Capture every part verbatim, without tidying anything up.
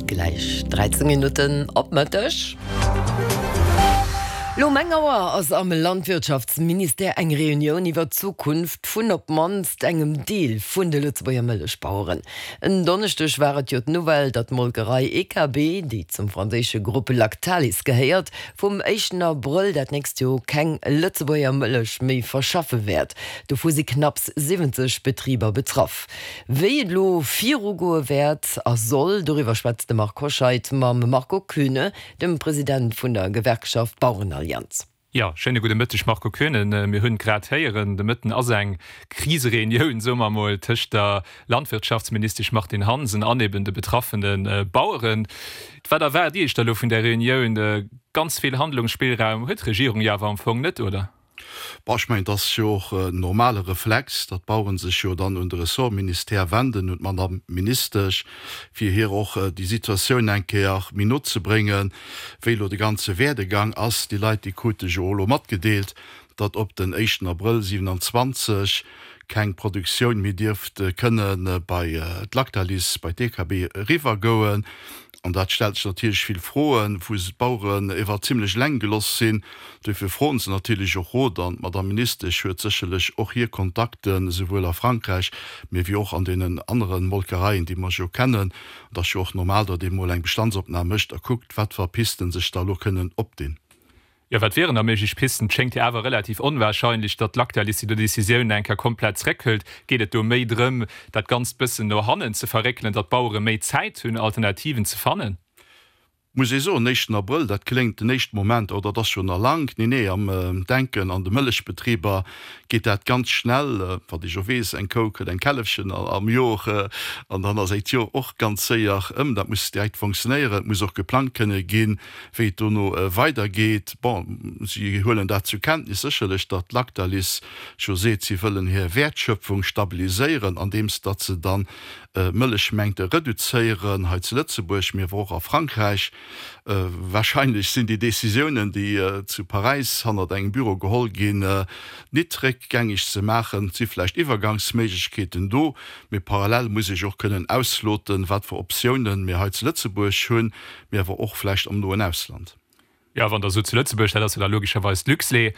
Gläich dräizéng Minutten op Mëtteg. Lo um eng Auer ass am Landwirtschaftsministère eng Reunioun iwwer d'Zukunft vun op d'mannst engem Deel vun de Lëtzebuerger Mëllechbaueren. En Donneschdeg war et jo d'Nouvelle, datt d'Molkerei E K B, déi zum franséische Grupp Lactalis gehéiert, vum éischten Abrëll dat nächst Joer keng Lëtzebuerger Mëllech méi verschaffe wäert. Dovu si knapps siwwenzeg Betriber betraff. Wéi et elo virugoe wäert a soll, doriwwer schwätzt de Marc Hoscheid mam Marco Koeune, dem President vun der Gewerkschaft Bauerenallianz. Jo, schéine gudde Mëtteg, Marco Koeune. Mir hunn grad héieren, de Mëtten ass eng Krisereunioun, soe mer mol, tëscht der Landwirtschaftsministesch Martine Hansen an eben de betraffene Baueren. Wat erwaart Dir Iech da lo vun der Reunioun? Ganz vill Handlungsspillraum huet d'Regierung jo awer am Fong net, oder? Bon, ech mengen, et ass jo och en normale Reflex, datt d'Baueren sech jo dann un de Ressortministère wenden, un d'Madame Ministesch, fir hir och déi Situatioun eng Kéier méi no ze bréngen, wéi elo de ganze Werdegang ass. Déi Leit, déi krute jo och elo matgedeelt, datt op den éischten Abrëll siewenanzwanzeg keng Produktioun méi dierft kënne bei d'Lactalis, bei d'E K B eriwwergoen. An dat stellt sech natierlech vill Froen, wou se d'Baueren ewer zimlech eleng geloss sinn. Duerfir froen se natierlech och Rot an d'Madame Ministesch huet sécherlech och hir Kontakten, esouwuel a Frankräich, mee wéi och an deenen anere Molkereien, déi mer jo kennen. Et ass jo och normal, datt ee mol eng Bestandsopnam mécht a kuckt, wat fir Pisten sech da elo kënnen opdinn. Jo, wat wieren da méiglech Pisten? Et schéngt jo awer relativ onwahrscheinlech, datt d'Lactalis déi Decisioun eng Kéier komplett zréckhëlt. Geet et do méi drëm, dat Ganzt bëssen no hannen ze verréckelen, datt d'Bauere méi Zäit hunn, Alternativen ze fannen? Muss ee soen, éischten Abrëll, dat kléngt den éischten Moment, oh, dat ass jo nach laang. Nee, nee, am Denken an de Mëllechbetriber geet dat ganz schnell. Wat ech jo weess, eng Kou kritt eng Källefchen am Jor an dann ass d'Jor och ganz séier ëm. Dat muss direkt funktionéieren, et muss och geplangt kënne ginn, wéi et dono weidergeet. Bon, si huelen dat zur Kenntnis sécherlech, datt d'Lactalis jo seet, si wëllen hir Wäertschöpfung stabiliséieren, andeems datt se dann Mëllechmengte reduzéieren hei zu Lëtzebuerg, mee awer och a Frankräich. Wahrscheinlech sinn déi Decisiounen, déi zu Paräis hannert engem Büro geholl ginn, nit réckgängeg ze maachen. Et si vläicht Iwwergangsméiglechkeeten do, mee parallel muss ech och kënnen ausloten, wat fir Optiounen mir hei zu Lëtzebuerg hunn, mee awer och vläicht am noen Ausland. Jo, wann Der sot zu Lëtzebuerg, dat ass jo da logescherweis d'Luxlait,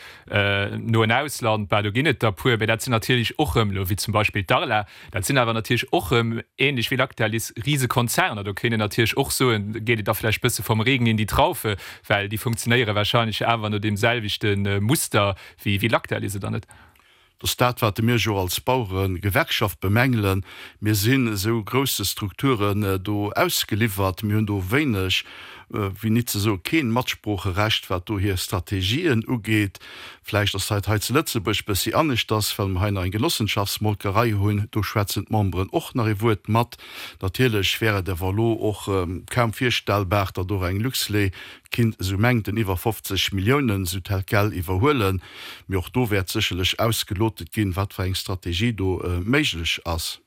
noen Ausland, bah, do ginn et der puer, mä dat sinn natierlech och erëm elo, wéi zum Beispill d'Arla, dat sinn awer natierlech och erëm, ähnlech wéi Lactalis, Risekonzerner. Do kéint een natierlech och soen, geet et da vläicht bësse vom Regen in die Traufe, well déi funktionéiere wahrscheinlech awer no deem selwechte Muster wéi Lactalis, oder net? Dat ass dat, wat mir jo als Baueregewerkschaft bemängelen. Mir sinn esou grousse Strukturen do ausgeliwwert. Mir hunn do wéineg, wéi nit ze soe keen Matsproocherecht, wat do hir Strategien ugeet. Vläicht ass dat hei zu Lëtzebuerg bëssi aneschters, well mer hei nach eng Genossenschaftsmolkerei hunn. Do schwätzen d'Memberen och nach ee Wuert mat. Natierlech wär et awer elo och kaum virstellbar, datt och eng Luxlait kinnt esou Mengten iwwer fofzeg Milliounen esou tel quel iwwerhuelen. Mee och do wäert sécherlech ausgelotet ginn, wat fir eng Strategie do méiglech ass.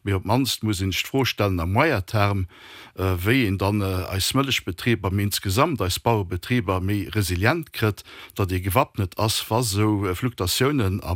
Mee op d'mannst muss een sech d'Fro stellen à moyen terme, wéi een dann eis Mëllechbetriber, mee insgesamt eis Bauerebetriber méi resilient kritt, datt ee gewappnet ass, wa sou Fluktuatiounen am.